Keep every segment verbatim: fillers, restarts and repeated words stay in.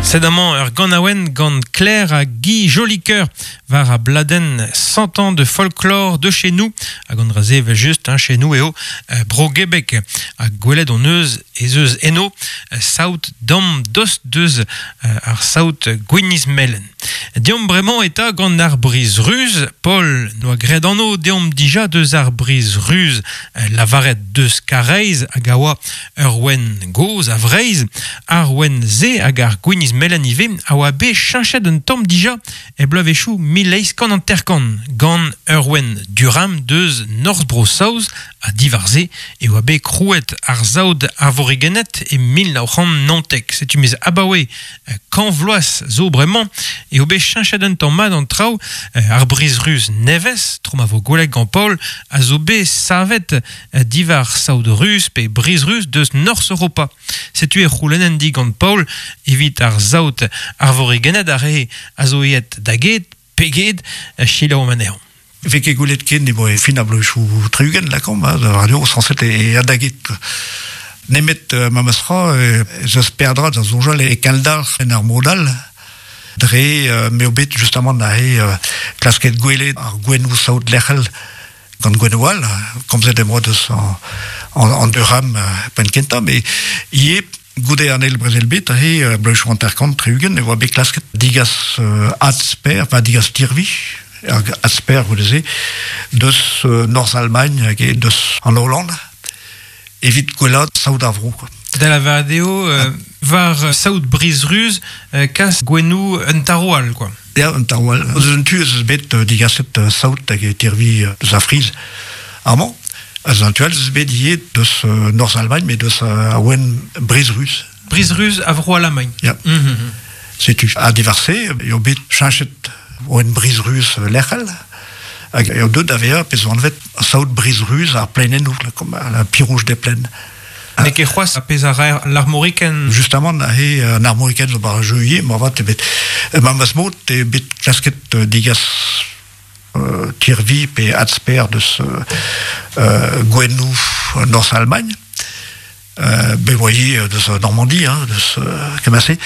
Sed amañ ur ganaouenn gant Claire ha Guy Jolicoeur war a bladenn cent ans de folklore de chez nous hag an dra-se evel just hein, chez nous eo euh, bro Gebek ha gwelet hon eus ez eus eno euh, saout dam dost deus euh, ar saout gwiniz melen. Deomp bremañ eta gant ar briz ruz, Paul noa graet anv deomp dija deus ar briz ruz euh, lavaret deus Kareiz hag a oa ur wenn goz a Vreiz, ar wenn ze hag ar gwiniz melen ivez a oa bet cheñchet un tamm dija e bloavezhioù mil eizh kant hanter-kant gant ur wenn Durham deus Norzh Bro-Saoz ha diwar-se e oa bet krouet ar saout arvorigened e mil nav c'hant naontek. Setu miz abaoe kant vloaz zo bremañ eo bet cheñchet un tamm mat an traoù ar briz ruz nevez, tro ma vo gwelet gant Paul, a zo bet savet diwar saout ruz pe briz ruz deus Norzh Europa. Setu e c'houlennen digant Paul evit ar saout arvorigened ar re a zo aet da get, pe get, selaouomp anezhañ. Vez ket gwelet ken e bo e fin ar bloavezhioù tri-ugent lakaomp, hein, da radio sañset e a da get. Nemet euh, ma meus-tra, ez eus peadra da soñjal e kendalc'h en ar mod all, dre euh, m'eo bet justement neuze euh, klasket gwelet ar gouennoù saout lec'hel gant gouennoù all, komzet em boa deus an, an, an Durham euh, penn kentañ, met ivez goude an eil brezel bet, aze, euh, bloavezhioù hanter-kant, tri-ugent, e oa bet klasket digas euh, adsper, enfin digas tirvi, hag adsper goude-se, deus euh, Norzh-Allemagne hag e deus an Hollande, evit gwellaat saout ar vro, quoi. Da lavaret eo, euh, war saout briz ruz, euh, kas gouennoù un taro all, quoi. Ya, un taro all. Eus un tu ez eus bet euh, digaset euh, saout hag e tirvi euh, deus ar Friz. Amañ, eus an tu all ez eus bet ivez deus euh, Norzh-Allemagne, met deus euh, a wenn briz ruz. Briz ruz a vro Alamagn. Ya. Mm-hmm. Setu ha diwar-se, eo bet cheñchet wenn briz ruz lec'hel, hag eo deuet da vezañ pezh zo anvet saout briz ruz ar plaenennoù, comme la pie rouge des plaines. N'eo ket c'hoazh ar pezh a raer l'armoricaine. Justement, aze an armoricaine zo bar jeu ivez, moarvat eo bet memes mod eo bet klasket euh, digas euh, tirvi pe adsper deus euh, euh, gouennoù Norzh-Allemagne. Euh, bet oa ivez deus Normandie, hein, deus euh, kement-se.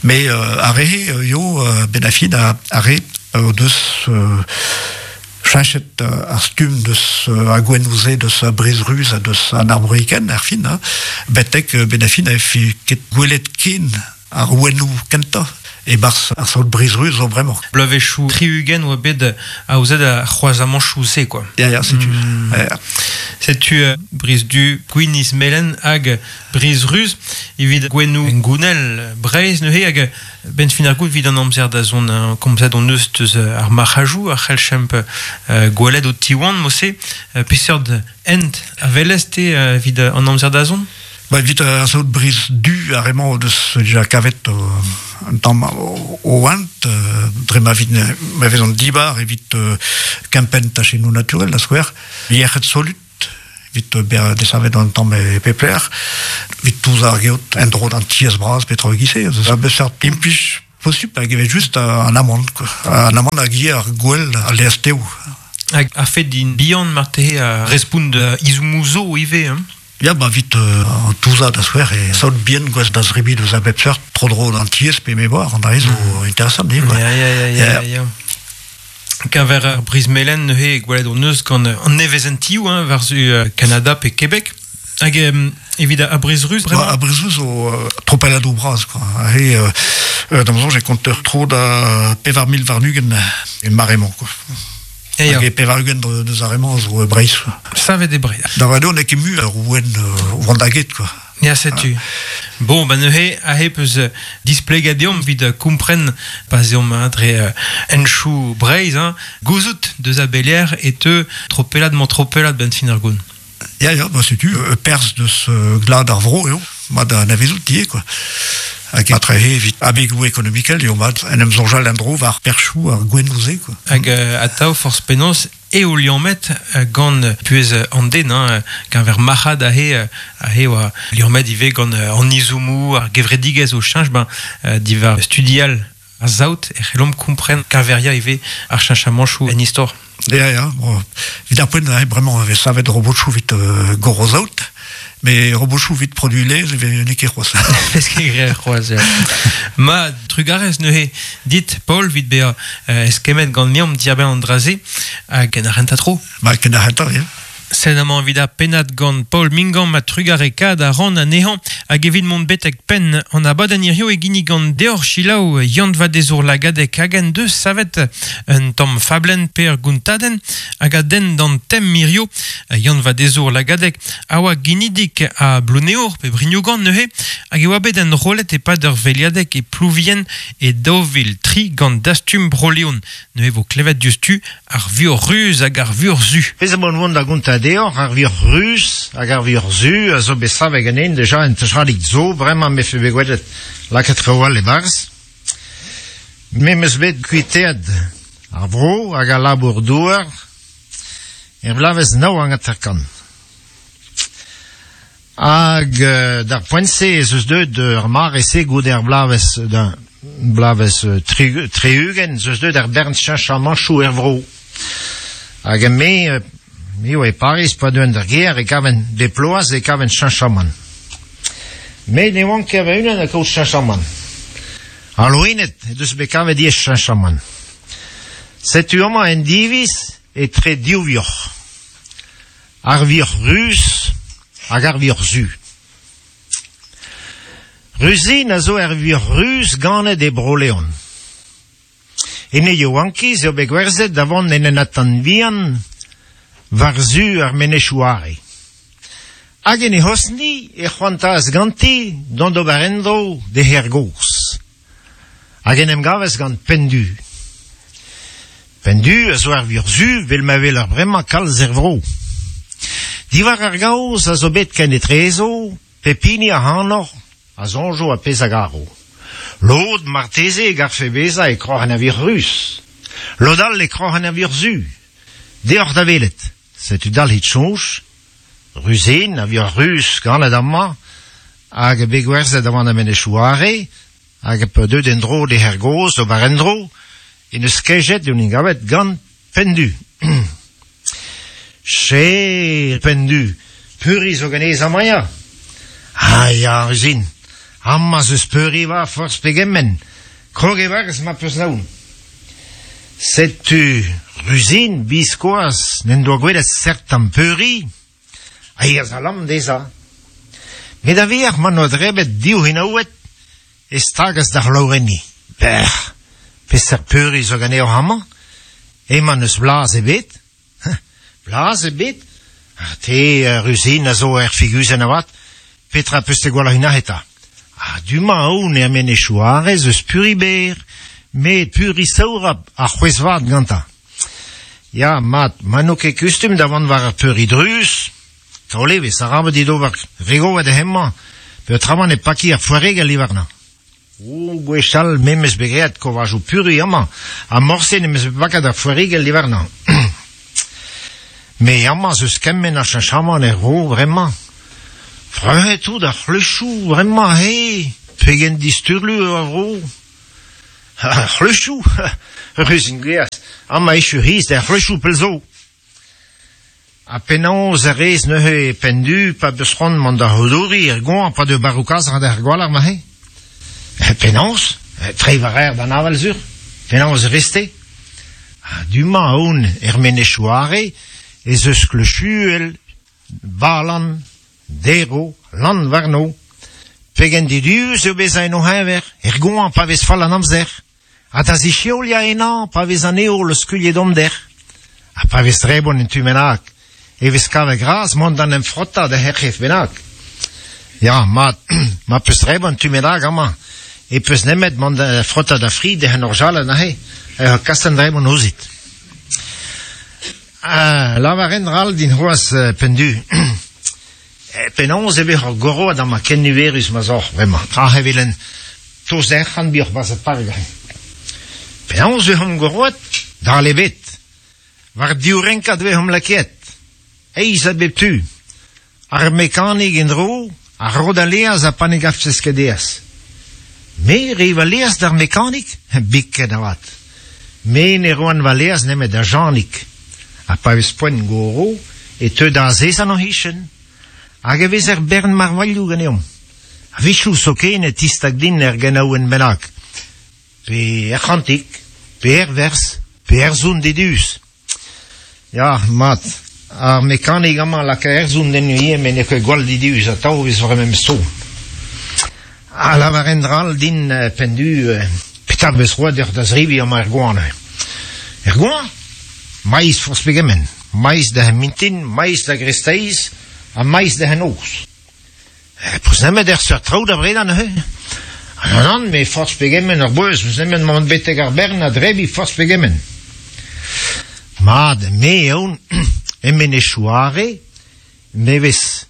Mais euh, ar re eo euh, ben a fin a, ar re euh, deus euh, cheñchet euh, ar stumm deus euh, ar gouennoù-se deus a briz ruz ha deus an armoricaine ar fin, hein, betek euh, ben a fin a fi ket gwelet ken ar gouennoù kentañ e barzh ar saout briz ruz zo bremañ. Bloavezhioù tri-ugent oa bet aozet ar c'hroazamanchoù-se, quoi. Ya, ya, setu. Mm. Ya, ya. Setu euh, briz du gwiniz melen hag briz ruz evit gouennoù gounel Breizh neuze hag ben fin ar gout evit an amzer da zont hein, komzet hon eus deus ar marc'hajoù ar c'hellchemp euh, gwelet o tiwan mose euh, peseurt hent a welez te euh, evit an amzer da zont? Ba, evit ar saout briz du ar emañ deus dija kavet euh, un tamm o, o oant, euh, dre ma vit, ma vez an dibar evit euh, kempenn tachennoù naturel, da skouer, yec'hed solut, evit euh, bezañ desavet an tamm e pep lec'h, evit touzañ ar geot en-dro d'an tiez bras petra e-giz-se, eus a beseurt implij posupl hag evel just an amant, quoi. An amant hag ivez ar gwell al laezh tev. Hag a fed din bihan marteze a respont uh, izommoù zo ivez, hein? Ya, ba, evit euh, an touzañ da skouer e saout bihan gouest da zebriñ deus a bep seurt tro-dro d'an tiez pe me oar, an dra zo mm. interesant, ivez, quoi. Ya, ya, ya, ya, Ya. ya. Keñver ar briz melen neuze gwelet hon eus gant an nevezentioù, hein, war-zu euh, Kanada pe Québec. Hag euh, evit ar briz ruz, Ba, bremañ? ar briz ruz zo euh, tropelladoù bras, quoi. Aze, euh, euh, d'am soñj e konter tro da pevar mil warn-ugent e mare-mañ, quoi. Ya, ya. Hag e pevar-ugent deus ar re-mañ zo e Breizh, quoi. Savet e Breizh. Da vat eo n'eo ket mui ar ouenn euh, o vont da get, quoi. Ya, setu. Bon, ba neuze, aze peus euh, displeget deomp evit euh, kompren pa 'z eomp hein, dre euh, henchoù Breizh, hein, gouzout deus a belec'h e teu tropellad mañ tropellad ben fin ar goun. Ya, ya, ba setu, euh, perzh deus euh, glad ar vro eo, mat da anavezout ivez, quoi. Hag atre evit abegoù ekonomikel eo mat en em soñjal en-dro war perzhioù ar gouennoù-se, quoi. Hag euh, atav forzh penaos eo liammet euh, gant puez an den, hein, keñver marc'had aze, euh, aze oa liammet ivez gant euh, an izommoù, ar gevredigezh o cheñch, ben, euh, diwar studial ar saout e c'hellomp kompren keñveriañ ivez ar cheñchamanchoù en istor. Ya, ya, bon, evit ar poent, aze, bremañ e vez savet robotchoù evit euh, goro saout, Me robochou vit produit lez, e ne ket c'hoaz. Vez ket graet c'hoaz, ya. Ma, trugarez neuze, dit, Paul, vit bea euh, eskemet gant neomp diarbenn an dra-se, hag en ar renta tro. Ma, ken ar renta, ya. Sed amañ evit ar pennad gant Paul Mingam ma trugarekaat a ran anezhañ hag evit mont betek penn an abadenn hirio e gini gant deoc'h selaou Yann Vadezour Lagadeg hag en deus savet un tamm fablenn pe ur gontadenn hag a denn d'an tem hirio. Yann Vadezour Lagadeg a oa ginidik a Plouneour pe Brignogan neuze hag e oa bet enrollet e-pad ur veilhadeg e Plouvien e daou vil tri gant Dastum Bro-Leon. Neuze vo klevet diouzhtu ar vuoc'h ruz hag ar vuoc'h zu. Pezh a vont da gontañ deoc'h ar vuoc'h ruz hag ar vuoc'h zu a zo bet savet ganin deja en techadig zo, bremañ me fe bet gwelet lakaet traoù all e-barzh. Me 'm eus bet kuitaet ar vro hag al labour douar er bloavezh nav hag hanter-kant. Hag euh, d'ar poent-se ez eus deuet ur mare-se goude ar bloavezh d'un bloavezh tri, tri-ugent ez eus deuet ar bern cheñchamanchoù er vro. Hag me, me oa e Paris pa deuen d'ar gêr e kaven bep bloaz e kaven cheñchamant. Met ne oan ket va-unan a kaout cheñchamant. Ar loened he deus bet kavet ivez cheñchamant. Setu amañ en diviz etre div vioc'h. Ar vioc'h ruz hag ar vioc'h zu. Ruzin a zo ar vioc'h ruz ganet e Bro-Leon. En e yaouankiz eo bet gwerzhet da vont en un atant bihan war-zu ar menezioù Are. Hag en he c'hozhni e c'hoantaas ganti dont d'ober en-dro d'he c'hêr gozh. Hag en em gavas gant Pendu. Pendu a zo ar vioc'h zu vel ma weler bremañ kalz er vro. Diwar ar gaoz a zo bet ken etrezo, pep hini ac'hanoc'h a soñjo ar pezh a garo. Lod marteze e garfe bezañ e kroc'hen ar vioc'h ruz. Lod all e kroc'hen ar vioc'h zu. Deoc'h da welet. Setu dalc'hit soñj, Ruzin ar vioc'h ruz ganet amañ, hag bet gwerzhet da vont d'ar menezioù Are, hag pa deuet en-dro d'he c'hêr gozh d'ober en-dro, en deus kejet en em gavet gant Pendu. Che, Pendu, peuri zo ganez amañ ya? Ah ya, Ruzin, amañ 'z eus peuri war forzh pegement, krog e-barzh ma peus naon. Setu Ruzin biskoazh n'en doa gwelet seurt tamm peuri, a yeas a-lamm dezhañ. Met a-vec'h ma 'noa drebet div c'hinaoued e stagas da c'hlaourenniñ. Bec'h, peseurt peuri zo ganeoc'h amañ? Emañ n'eus blaz ebet. Blaz ebet? Ha te, Ruzin, a zo er figuzenn avat, petra peus te gwallc'h unan eta? Ha du-mañ aon er menezioù Are ez eus peuri berr, met peuri saourap ha c'hwezh vat gantañ. Ya, mat, ma n'o ket kustum da vont war ar peuri druz, taol evezh, arabat dit ober regovet hemañ, peotramant e paki ar foaregel diwarnañ. O, gwechall me 'm eus bet graet kovajoù peuri amañ, ha morse n'em eus bet paket ar foaregel diwarnañ. Me amañ 'z eus kement a cheñchamant er vro bremañ. Freuzet tout ar c'hleuchoù bremañ, he, pegen disturlu eo ar vro. Ar c'hleuchoù, Ruzin gaezh, amañ echu c'hiz d'ar c'hleuchoù pell zo. Ha penaos a rez neuze Pendu pa beus c'hoant mont da c'houdoriñ er goañv pa deu barroù-kazarn d'ar gwalc'h ma he? Penaos? Treiñ war aer d'an aval sur. Penaos e rez-te? Ha du-mañ aon er menezioù Are ez eus kleuchuel, balan, dero, lann warno. Pegen diduus eo bezañ en o c'heñver, er goañv pa vez fall an amzer. Ha da zisheoliañ ennañ pa vez an heol o skuilh e dommder. Ha pa vez drebon en tu bennak, e vez kavet gras mont d'an em frotañ da ur c'hef bennak. Ya, mat, ma peus drebon tu bennak amañ, e peus nemet mont da frotañ da fri d'he orjalenn aze, e kas an drebon ouzhit. Ah, lavar un dra all din c'hoazh Pendu. Penaos e vez ur goroad amañ ken niverus ma 'z oc'h bremañ. Tra evel un tost ur c'hant bioc'h 'barzh ar park. Penaos e vez goroad? Dal ebet. War div renkad e vez lakaet. Eizh a bep tu. Ar mekanik en-dro, ar ro da laezh ha pa ne gavfes ket aes. Me 'reiñ va laezh d'ar mekanik? Biken avat. Me ne roan va laezh nemet da Janig. Ha pa vez poent goro, e teu da azezañ en o c'hichen. Hag e vez er bern marvailhoù ganeomp. A vichou zoken e tistag din er genaouen bennak. Pe er c'hantik, pe er vers, pe er zoun dedus. Ya, mat, ar mekanik amañ laka er zoun den ivez, met n'eo ket gwall dedus, atav vez war memes tro. A lavar en dral din pendu, petra vez roet deoc'h da zribi amañ er goan. Er goan? Maiz forzh pegement. Maiz da mintin, maiz da gresteiz, ha maiz da noz. Peus nemet er seurt traoù da bredañ neuze. An an, me forzh pegement ur beuz, peus nemet mont betek ar bern a drebi forzh pegement. Mat, me eon, emen e chouare, me vez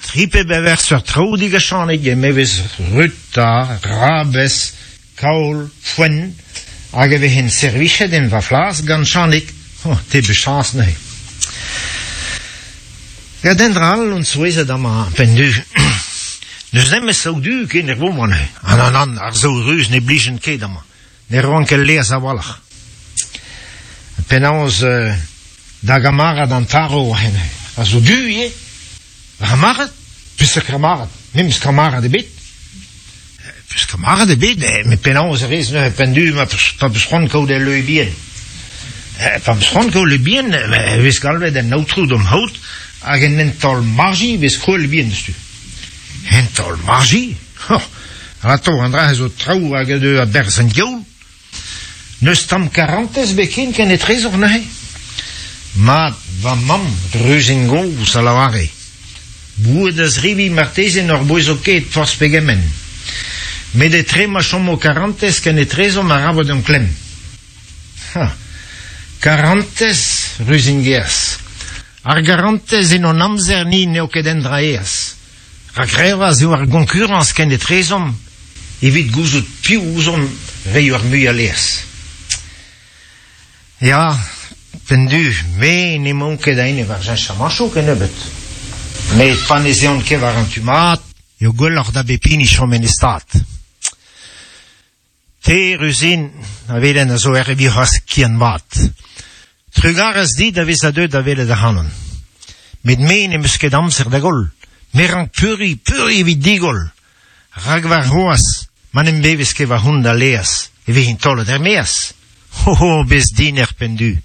tripe bever seurt traoù digachanig, me vez ruta, rabez, kaol, foenn, hag e vehen servichet en va flas gant chanig. Oh, te bechañs neuze. Ya den dral on souezhet amañ pendu. N'eus nemet saout du ken er boman. An an an, ar saout ruz ne blijen ket amañ. Ne roan ket lez a-walc'h. Penaos euh, da gamarad an taro hen. A zo du ivez. Va c'hamarad? Peus kamarad? Me meus kamarad ebet. Peus kamarad ebet, met penaos a rez neuze pendu ma pa peus c'hoant kaout el leue bien. Pa peus c'hoant kaout le bien, e vez galvet en aotrou d'am haout, hag en en taol marji vez kroel bien deus tu. En taol marji? Oh, rato, an dra zo traoù hag a a berz an diaoul. N'eus tamm karantez beken ken e trezor neuze. Mat, va mamm, druzin goz a lavare. Bouet da zribi marteze n'or boezo ket forzh pegement. Met e tre ma chomo karantez ken e trezor ma rabot an klemm. Ha, karantez, ruzin gerz. Ar garantez en hon amzer ni n'eo ket en dra eaz. Rak revaz eo ar gonkurañs ken e trezomp, evit gouzout piv ouzomp reiñ ar mui a lez. Ya, pendu, me n'emaon ket a-enep war cheñchamanchoù kennebeut. Met pa ne zeont ket war an tu mat, eo gwelloc'h da bep hini chom en e stad. Te, Ruzin, a velen a zo er evit c'hoazh kian mat. Trugarez dit da vez a deuet da welet ac'hanon. Met me n'em eus ket amzer da goll. Me rank peuri, peuri evit digoll. Rak war c'hoazh, ma n'em bevez ket war hon da leaz, e vezin taolet er maez. Ho ho, bez din er pendu.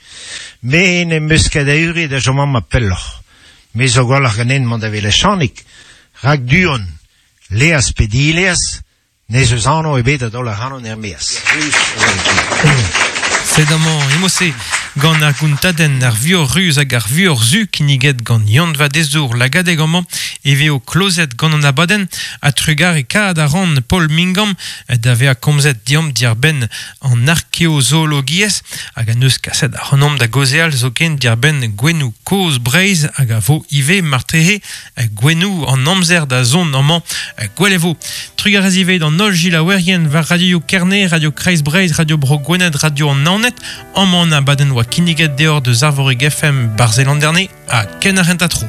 Me n'em eus ket a eure da chom amañ pelloc'h. Me zo gwelloc'h ganen mont da welet Chanig. Rak du-hont, leaz pe dileaz, n'ez eus anv ebet da daol ac'hanon er maez. Sed amañ emose gant ar gountadenn ar vuoc'h ruz hag ar vuoc'h zu kinniget gant Yann Vadezour lagadeg amañ e veo klozet gant an abadenn ha trugarekaat a ran Paul Mingam da vezañ komzet diamp diàr-benn an arkeozoologiezh hag an eus kaset ac'hanomp da gaozeal zoken diàr-benn gouennoù kozh Breizh hag a vo ivez marteze gouennoù an amzer da zont amañ gwell e vo. Trugarez ivez d'an holl gilaouerien war Radio Kerne, Radio Kreiz Breizh, Radio Bro Gwened, Radio an Naoned, amañ an abadenn oa kinniget deoc'h deus Arvorig F M Barzelanderne ha ken ar renta tro.